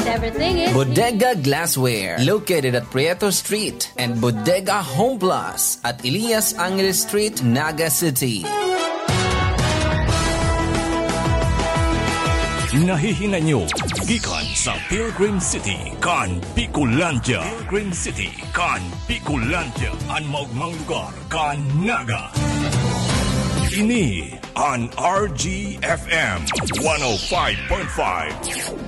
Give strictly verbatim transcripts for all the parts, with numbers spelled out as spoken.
Everything is Bodega Glassware, located at Prieto Street, and Bodega Home Plus at Elias Angeles Street, Naga City. Nahihinanyo gikan sa Pilgrim City kan Bicolandia. Pilgrim City kan Bicolandia, an maogmang lugar kan Naga. Ini an R G F M one oh five point five,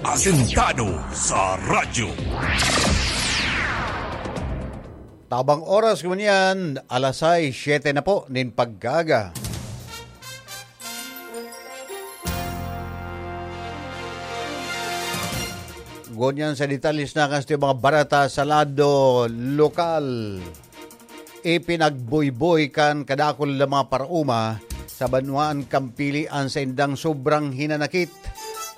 asentado sa radyo. Tabang oras ngunyan, alas sais, siyete na po nin pagkaaga. Ngunyan sa detalye na kan satuyang mga bareta sa lado lokal. Ipinagbuyboy kan kadakul na mga paraoma sa banwaan kan Pili an saindang sobrang hinanakit,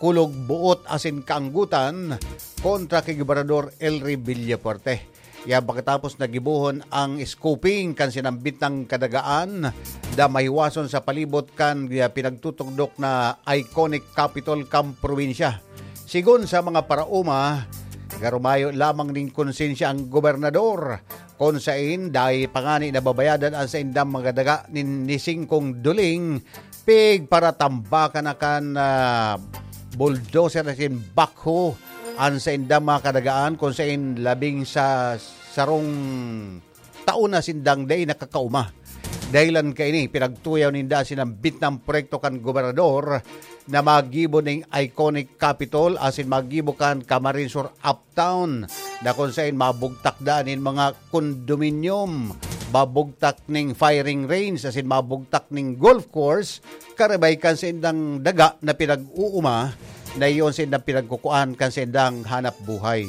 kulog-boot asin kaanggotan kontra ki Gobernador Elry Villafuerte. Yan pagkatapos na gibohon ang scooping kan sinambit na kadagaan na mahiwason sa palibot kan, ah, pinagtutugdok na iconic capital kan probinsya. Sigon sa mga paraoma, garumayo lamang nin konsensya ang gobernador, kun saen dai pa ngani nababayadan an saindang mga daga nin, ni singkong duling, pigparatambakan na kan, ah, bulldozer asin backhoe an saindang mga kadagaan, kun saen labing sa sarong taon na sindang dai nakakaoma. Dahilan kaini, pinagtuyaw ninda an sinambit na proyekto kan gobernador na magibo ning iconic Capitol asin magibo kan Camarines Sur uptown, na kun saen mabugtak daa nin mga condominium, mabugtak ning firing range asin mabugtak ning golf course, karibay kan saindang daga na pinag-uuma, na iyon saindang pinagkukuan kan saindang hanap buhay.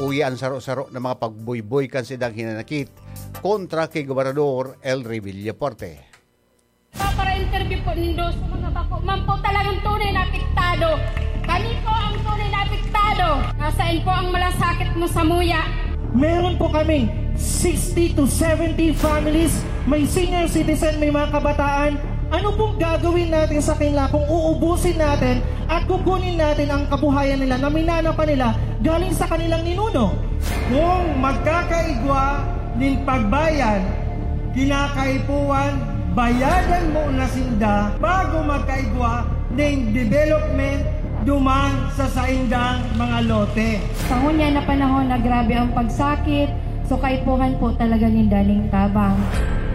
Uya an saro-saro na mga pagbuyboy kan saindang hinanakit kontra ki Gobernador Elry Villafuerte. Para interview po nindo sa mga bako. Man po talagang tunay na apektado. Kami po ang tunay na apektado. Nasaan po ang malasakit mo sa muya? Meron po kami sixty to seventy families, may senior citizen, may mga kabataan. Ano pong gagawin natin sa kanila kung uubusin natin at kukunin natin ang kabuhayan nila na minana pa nila galing sa kanilang ninuno? Kung magkakaigwa nin pagbayad, kinakaipuhan, bayadan mo na sinda bago magkaigwa ning development duman sa saindang mga lote. Sa ngunyan na panahon na grabe ang pagsakit, so kaipuhan po talaga ninda ning tabang.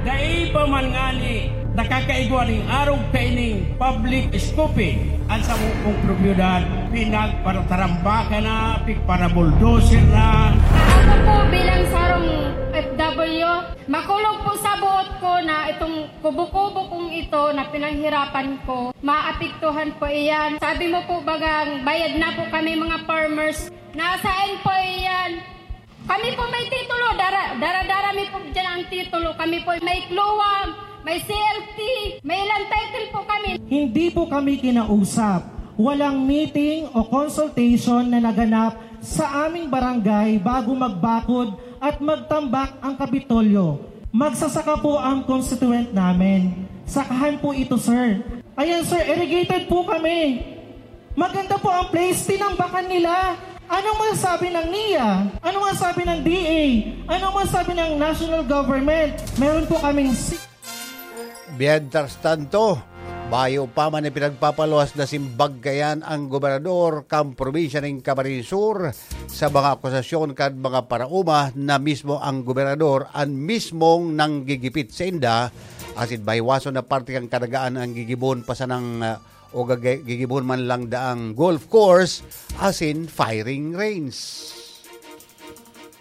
Dai pa man ngani nakakaigwa ning arog kaining public scooping, ang samong propiedad pinagparatarambakan na, pigparabulldozer na. Ako po bilang sarong F W, makulog po sa buot ko na itong kubo-kubo kong ito na pinaghirapan ko, maapektuhan po iyan. Sabi mo po bagang bayad na po kami mga farmers. Nasaan po iyan? Kami po may titulo, dara, dara-dara mi po dyan ang titulo. Kami po may CLOA, may C L T, may ilang title po kami. Hindi po kami kinausap. Walang meeting o consultation na naganap sa aming barangay bago magbakod at magtambak ang Kapitolyo. Magsasaka po ang constituent namin. Sakahan po ito, sir. Ayan, sir, irrigated po kami. Maganda po ang place, tinambakan nila. Anong masasabi ng NIA? Anong masasabi ng D A? Anong masasabi ng national government? Meron po kaming si- Mientras tanto, bayo pa man ipinagpapaluwas na simbag kayan ang gobernador kan probinsya nin Camarines Sur sa mga akusasyon kan mga paraoma na mismo ang gobernador an mismong nanggigipit sainda, asin mahiwason na parte kan kadagaan an gigibon pa sanang, ah, o gage-, gigibon man lang daang golf course asin firing range.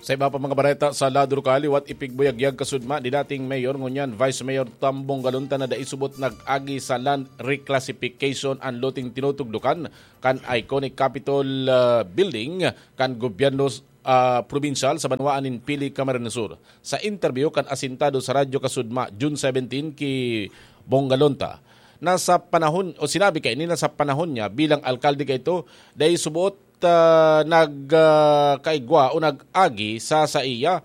Sa iba pa mga bareta sa lado lokal, liwat ipigbuyagyag kasudma ni dating Mayor ngunyan Vice Mayor Tambong Galunta na dai subot nag-agi sa land reclassification an loteng tinutugdokan kan iconic Capitol, ah, Building kan gobyerno, ah, probinsyal sa banwaan nin Pili, Camarines Sur. Sa interview kan asintado sa Radyo Kasudma, June seventeen, ki Bong Galunta, na sa panahon, o sinabi kaini na sa panahon niya bilang alkalde kaito, dai subot, ah, nag, ah, kaigwa o nag-agi sa saiya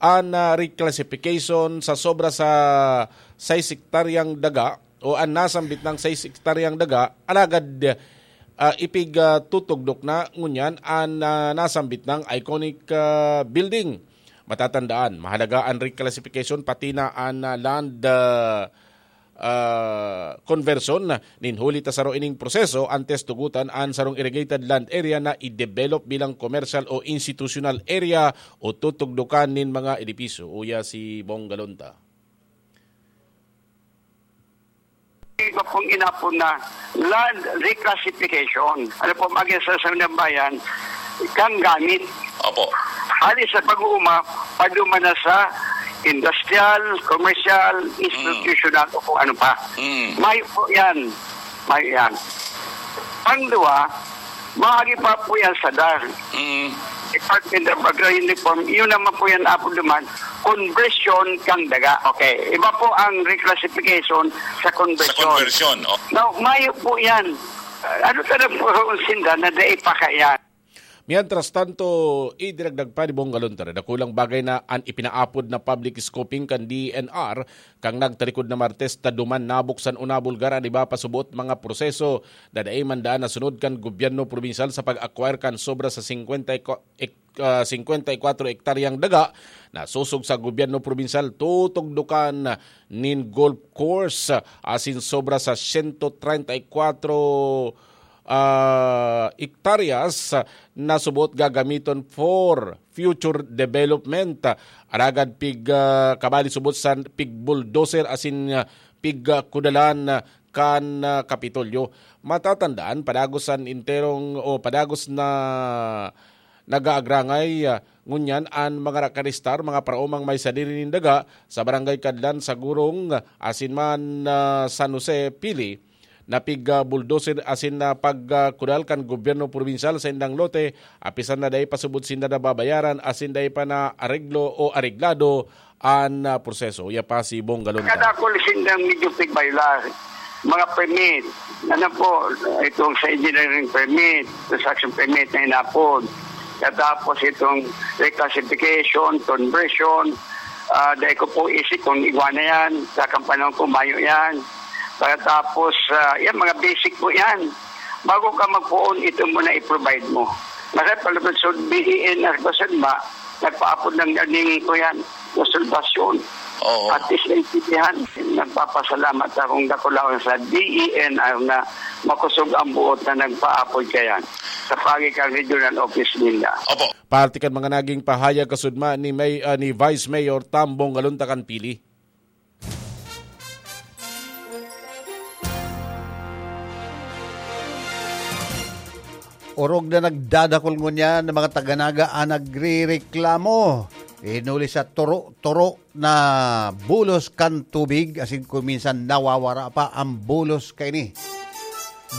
an, ah, reclassification sa sobra sa sais hektaryang daga o an nasambit na sais hektaryang daga, alagad, ah, ipig, ah, tutugdok na ngunyan an, ah, nasambit nang iconic, ah, building. Matatandaan, mahalaga an reclassification pati na an, ah, land, ah, ah, conversion. Nin huli ta saro ining proseso antes tugutan an sarong irrigated land area na i-develop bilang commercial o institutional area o tutugdokan nin mga edipisyo. Uya si Bong Galonta. Iba pong inapon na land reclassification. Ano po, mag-isa sa ng bayan, kang gamit. Opo. Hali sa pag-uuma, paduma na sa industrial, commercial, institutional, o kung ano pa. Mm. Mayo po yan. Mayo yan. Ang duwa, maagi pa po yan sa DAR. Mm. Department of Agrarian Reform, yun naman po yan, Apo Duman, conversion kang daga. Okay. Iba po ang reclassification sa Sa conversion. conversion, oh. Now, mayo po yan. Ano talaga po ang sinda na dai pa kaya? Mientras tanto, idinagdag pa ni Bong Galonta na dakulang bagay na an ipinaapod na public scoping kan D E N R, kang nagtalikod na Martes ta duman nabuksan o nabulgar an iba pa subot mga proseso na dai man daan nasunod kan gobyerno probinsyal sa pag-acquire kan sobra sa singkwenta y ku-, ek-, ah, singkwenta y kwatro ektaryang daga na sosog sa gobyerno probinsyal tutugdokan nin golf course, asin sobra sa sento treinta y kwatro ah, hektaryas na subot gagamiton for future development. Alagad pig, ah, kabali subot sa pig-bulldozer asin, ah, pig, ah, kudalan, ah, kan, ah, Kapitolyo. Matatandaan, padagos an enterong o padagos na nag-aagrangay, ah, ngunyan an mga nakaristar, mga paraomang may sadiri nin daga sa Barangay Kadlan, sa Gurong, asin man, ah, San Jose, Pili, na pig, ah, bulldozer asin na pag, ah, kudal kan gobyerno probinsyal sa indang lote, apisan na dai pa subot sinda nababayaran asin dai pa na areglo o areglado an, ah, proseso. Uya pa si Bong Galonta. Kadakul sindang medyo pigbayla. Mga permit, ano po, itong sa engineering permit, construction permit na inapod. Katapos itong reclassification, conversion, ah, dai ko po isip kung igwa na yan. Sa kampanaw ko, mayo yan. Pagkatapos, ah, yan, mga basic po yan. Bago ka magpoon, ito muna i-provide mo. Kasi palapit sa B E N R, basad ba, nagpaapod ng ganing ko yan, konsultasyon. Oo. At least naintindihan. Nagpapasalamat akong dakulaon sa D E N R na makusog ang buot na nagpaapod kayan sa pagi kan regional office ninda. Opo. Parte kan mga naging pahayag kasudma ni May-, ah, ni Vice Mayor Tambong Galuntakan Pili. Orog na nagdadakol ngunyan ang mga taga-Naga an nagrereklamo. Hinuli sa turo-turo na bulos kan tubig, asin kung minsan nawawara pa ang bulos kaini.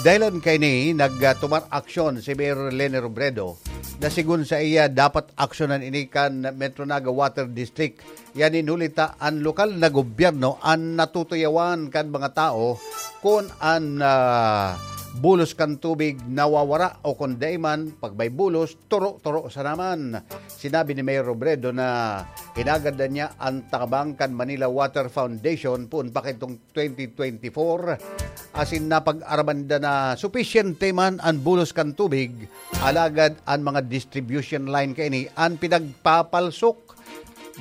Dahilan kaini, nagtumar aksyon si Mayor Leni Robredo na sigon sa iya dapat aksyonan ini kan Metro Naga Water District. Yan in huli ta an lokal na gobyerno an natutuyawan kan mga tao kun an, ah, bulos kan tubig nawawara o kun dai man, pag may bulos, turo-turo sana man. Sinabi ni Mayor Robredo na hinagad na niya an tabang kan Manila Water Foundation poon pa kaidtong twenty twenty-four, asin napag-araman da na supisyente man an bulos kan tubig, alagad an mga distribution line kaini an pinagpapalsok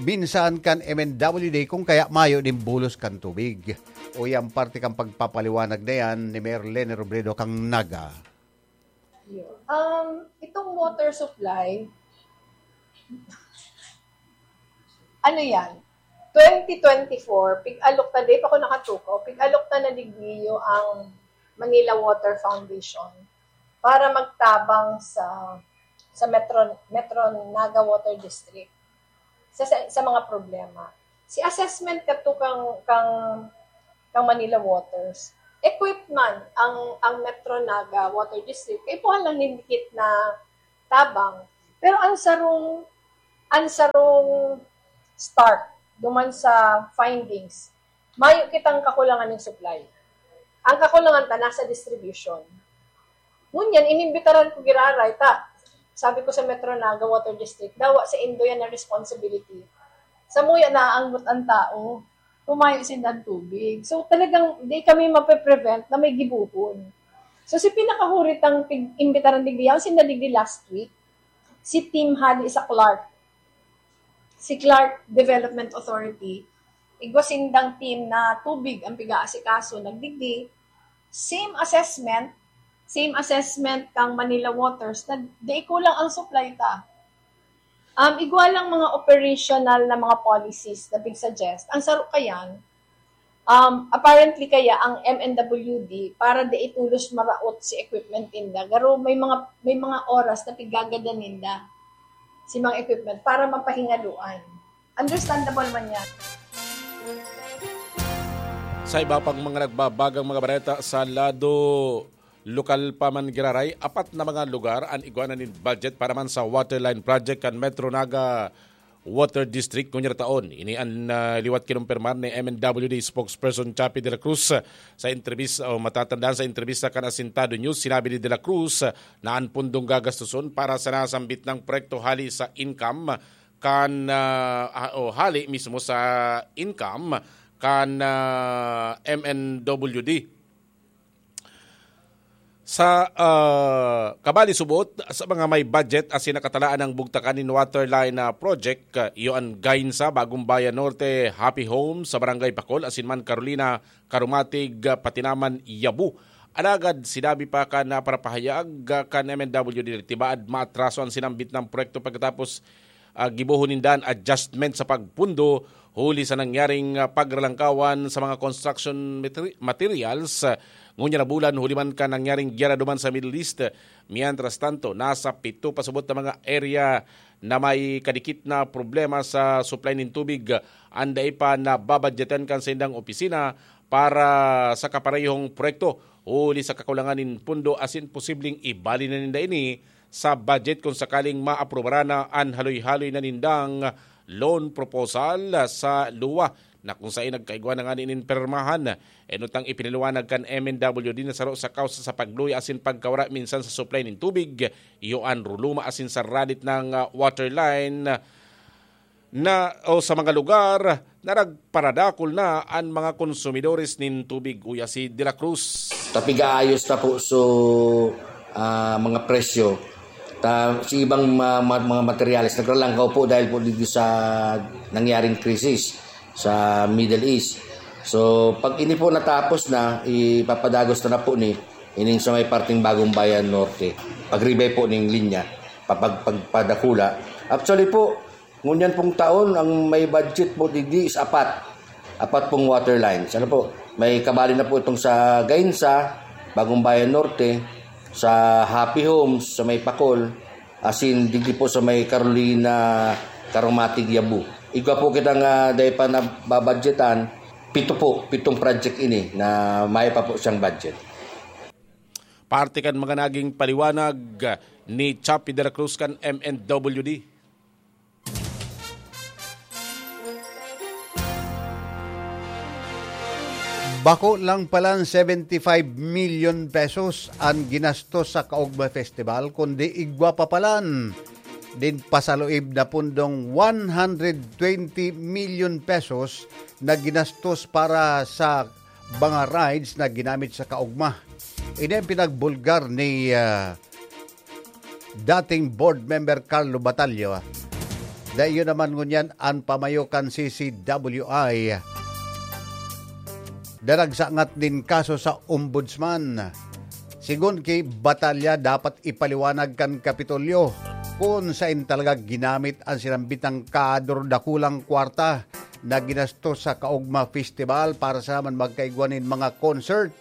minsan kan M N W D, kung kaya mayo nin bulos kan tubig. Uya an parte kan pagpapaliwanag na yan ni Mayor Leni Robredo kan Naga. Yun. Um, itong water supply, ano yan? Twenty twenty-four, pig-alok na, di pa ako nakatukaw, pig-alok na na digdiyo ang Manila Water Foundation para magtabang sa, sa Metro, Metro Naga Water District sa, sa, sa mga problema. Si assessment kato kang, kang, kang Manila Waters, equipped man ang, ang Metro Naga Water District. Kaipuhan lang nin dikit na tabang. Pero ang sarong, ang sarong start duman sa findings, mayo kitang kakulangan ng supply. Ang kakulangan ta nasa distribution. Ngunyan, inimbitaran ko giraray ta. Sabi ko sa Metro Naga Water District, dawa sa indo yan na responsibility. Sa muya, naaanggot ang tao, tumayo sinda ang tubig. So, talagang di kami mape-prevent na may gibohon. So, si pinakahuri tang pig-, imbitaran digdi, yaon sinda digdi last week, si Team Hali sa Clark. Si Clark Development Authority, igwa sindang team na tubig ang piga-asikaso, nagdigdi. Same assessment, same assessment kang Manila Waters na di kulang ang supply ta. Um, igwa lang mga operational na mga policies na pig-suggest. Ang saro kayan, um, apparently kaya ang M N W D para di itulos maraot si equipment ninda. Garo may mga may mga oras na pigagadan ninda si mga equipment para mapahingaluan. Understandable man yan. Sa iba pang mga nagbabagang mga bareta sa lado lokal pa man giraray, apat na mga lugar an igwa na nin budget para man sa Waterline Project kan Metro Naga Water District ngunyan taon. Ini an ah, liwat kinumpirmar ni M N W D spokesperson Chappie de la Cruz sa entrevista o matatandaan sa entrevista kan Asintado News. Sinabi ni de la Cruz na an pundong gagastuson para sa nasambit na proyekto hali sa income kan ah, ah, o hali mismo sa income kan ah, M N W D. Sa ah, kabali subot sa mga may budget asin nakatalaan ang bugtakan nin waterline na project, ah, iyo an Gainsa, Bagong Bayan Norte, Happy Home sa Barangay Pacol, asin man Carolina, Caromatig, ah, Patinaman, Yabu. Alagad sinabi pa kan ah, parapahayag ah, kan M N W D na tibaad maatraso an sinambit na proyekto pagkatapos ah, gibohon ninda an adjustment sa pagpundo huli sa nangyaring ah, pagralangkawan sa mga construction materi- materials ah, ngunyan na bulan huli man kan nangyaring giyera duman sa Middle East. Mientras tanto, nasa pito pa subot na mga area na may kadikit na problema sa supply nin tubig an dai pa nababadyetan kan saindang opisina para sa kaparehong proyekto huli sa kakulangan nin pundo asin posibleng ibali na ninda ini sa budget kung sakaling maaprubaran na an haloy-haloy na nindang loan proposal sa luwa na kung saen nagkaigwa na ngani nin pirmahan. Enot ang ipinaliwanag kan M N W D na saro sa kausa sa pagluya asin pagkawara minsan sa supply nin tubig, iyo an ruluma asin sa radit ng ah, water line na o sa mga lugar na nagparadakol na an mga konsumidores nin tubig, uya si De La Cruz. Tapigaayos na po so ah, mga presyo. Ta, si ibang ma, ma, mga materyales nagralangkaw po dahil po dito sa nangyaring krisis sa Middle East. So, pag ini po natapos na, ipapadagos na, na po ni ining sa may parting Bagong Bayan Norte. Pag-rebay po ning linya, papag, pagpadakula. Actually po, ngunyan pong taon, ang may budget po digdi is apat. Apat pong water lines. Ano po? May kabali na po itong sa Gainsa, Bagong Bayan Norte, sa Happy Homes, sa may Pacol, asin digdi po sa may Carolina, Caromatig, Yabu. Igwa po kita nga dahil pa nababadgetan, pito po, pitong project ini na may pa po siyang budget. Parte kan mga naging paliwanag ni Chappie de la Cruz kan M N W D. Bako lang palan seventy-five million pesos an ginastos sa Kaugma Festival, kundi igwa pa palan din pasaluib na pundong one hundred twenty million pesos na ginastos para sa mga rides na ginamit sa Kaugma. Ini ang pinagbulgar ni ah, dating board member Carlo Batallo. Dai iyo naman ngunyan an pamayo kan C C W I na nagsangat nin kaso sa Ombudsman. Sigon ki Batalla, dapat ipaliwanag kan Kapitolyo kun sain talaga ginamit an sinambitang kador dakulang kwarta na ginastos sa Kaugma Festival para sa man magkaigwa nin mga concert.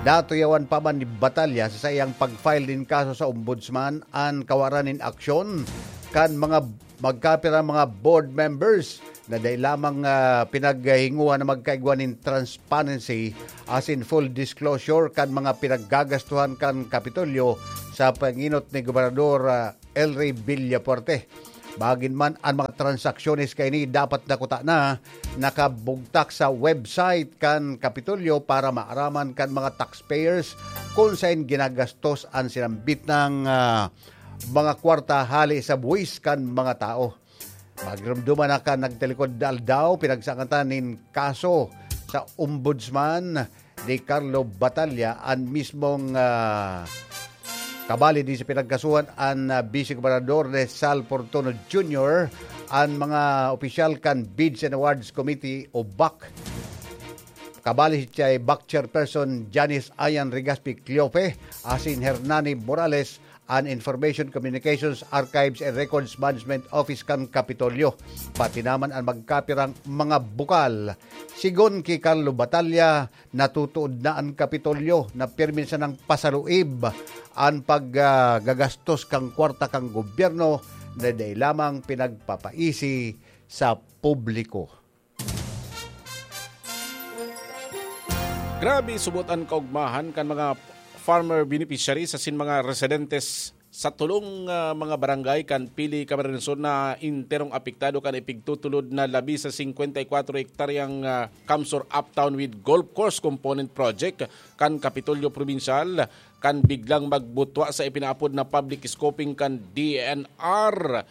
Natuyawan pa man ni Batalya sa saiyang pag-file nin kaso sa Ombudsman an kawaran nin aksyon kan mga magkapira mga board members na dai lamang ah, pinaghinguhan na magkaigwa nin transparency asin full disclosure kan mga pinaggagastuhan kan Kapitolyo sa panginot ni Gobernador ah, El Rey Villafuerte. Bagin man an mga transaksyones kaini dapat na kuta na nakabugtak sa website kan Kapitolyo para maaraman kan mga taxpayers kun sain ginagastos an sinambit ng ah, mga kwarta hali sa buwis kan mga tao. Magdumduman na kan nagtalikod na aldaw, pinagsangatan nin kaso sa Ombudsman ni Carlo Batalla, an mismong, ah, kabali din sa pinagkasuhan, an, ah, Vice Gobernador Rizal Portono Junior, an mga opisyal kan Bids and Awards Committee o BAC. Kabali si Chay BAC Chairperson Janice Ayan Rigaspi Cleofe, asin Hernani Morales, an Information Communications Archives and Records Management Office kan Kapitolyo, pati naman an magkapirang mga bukal. Sigon ki Carlo Batalla, natutuod na an Kapitolyo na pirmi sanang pasaluib an pag, ah, gagastos kan kwarta kan gobyerno na dai lamang pinagpapaisi sa publiko. Grabe subot an kaugmahan kan mga farmer beneficiaries asin mga residentes sa tolong, ah, mga barangay kan Pili, Camarines Sur na enterong apektado kan ipigtutulod na labi sa singkwenta y kwatro hektaryang, ah, CamSur Uptown with Golf Course Component Project kan Kapitolyo Probinsyal kan biglang magbutwa sa ipinaapod na public scoping kan D E N R.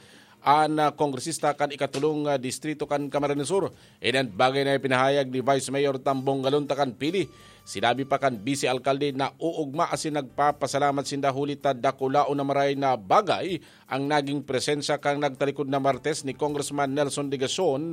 An, ah, kongresista kan ikatolong, ah, distrito kan Camarines Sur. Ini an bagay na ipinahayag ni Vice Mayor Tambong Galonta kan Pili. Sinabi pa kan Vice Alkalde na uugma asin nagpapasalamat sinda huli ta dakulaon na maray na bagay ang naging presensya kan nagtalikod na Martes ni Congressman Nelson Legacion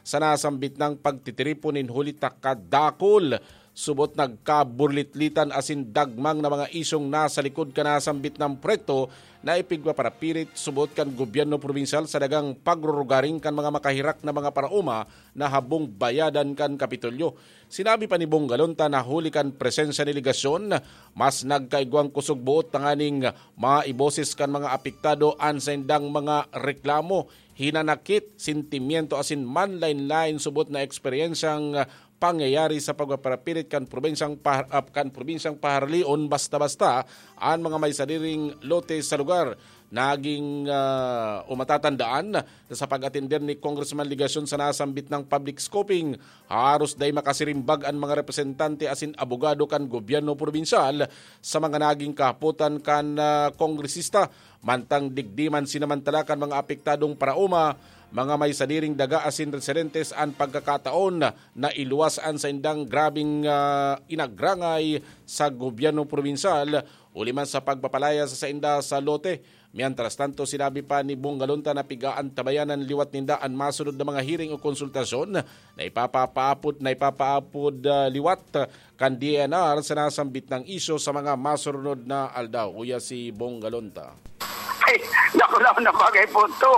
sa nasambit nang pagtitiripon nin huli ta kadakul. Subot nagkaburlitlitan asin dagmang na mga isyung nasa likod kan nasambit na proyekto na ipigpaparapirit subot kan gobyerno probinsyal sa dagang pagrurugaring kan mga makahirak na mga paraoma na habong bayadan kan Kapitolyo. Sinabi pa ni Bong Galonta na huli kan presensya ni Legacion, mas nagkaigwang kusog boot tanganing maiboses kan mga apektado an saindang mga reklamo, hinanakit, sentimiento asin manlaen-laen subot na eksperyensyang pangyayari sa pagpaparapirit kan probinsyang pahar-, ah, kan probinsyang paharalion basta-basta an mga may sadiring lote sa lugar. Naging, ah, o matatandaan na sa pag-atender ni Congressman Legacion sa nasambit na public scoping, haros dai makasirimbag an mga representante asin abogado kan gobyerno probinsyal sa mga naging kahapotan kan, ah, kongresista. Mantang digdi man sinamantala kan mga apektadong paraoma, mga may sadiring daga asin residentes an pagkakataon na iluwas an saindang grabeng, ah, inagrangay sa gobyerno probinsyal, huli man sa pagpapalaya sa sainda sa lote. Mientras tanto, sinabi pa ni Bong Galonta na pigaantabayan an liwat ninda an masunod na mga hearing o konsultasyon na ipapapaapod, na ipapaapod, ah, liwat kan D E N R sa nasambit na isyu sa mga masurunod na aldaw. Uya si Bong Galonta. Ay, naku, naku, na bagay po to.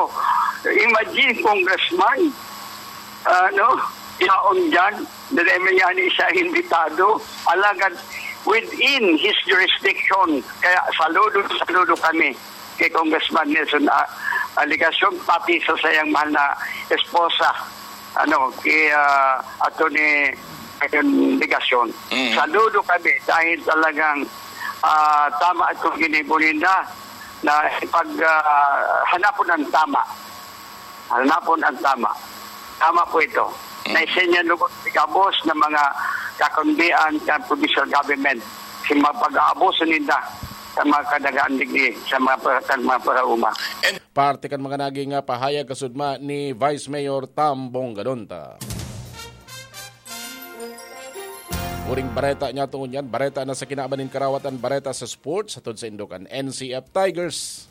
Imagine, congressman, ano, yaon dyan, dahil may yani siya imbitado. Alagad within his jurisdiction. Kaya saludo, saludo kami kay Congressman Nelson, ah, Legacion, pati sa sayang mahal na esposa, ano, kay, ah, Attorney Legacion. Mm. Saludo kami dahil talagang, ah, tama itong ginibo ninda na ipag, ah, hanapon ang tama. Hanapon ang tama. Tama po ito. Mm. Na siya niya lugod ikabos ng mga kakundian kan provincial government. Si mga pag-aabuso ninda sa mga kadagaan digdi, sa mga pa-, sa mga parauma. Parte kan mga naging, ah, pahayag kasudma ni Vice Mayor Tambong Gadonta. Uring bareta niya tungod yan. Bareta na sa kinaban nin karawatan, bareta sa sports, hatod sa Indokan N C F Tigers.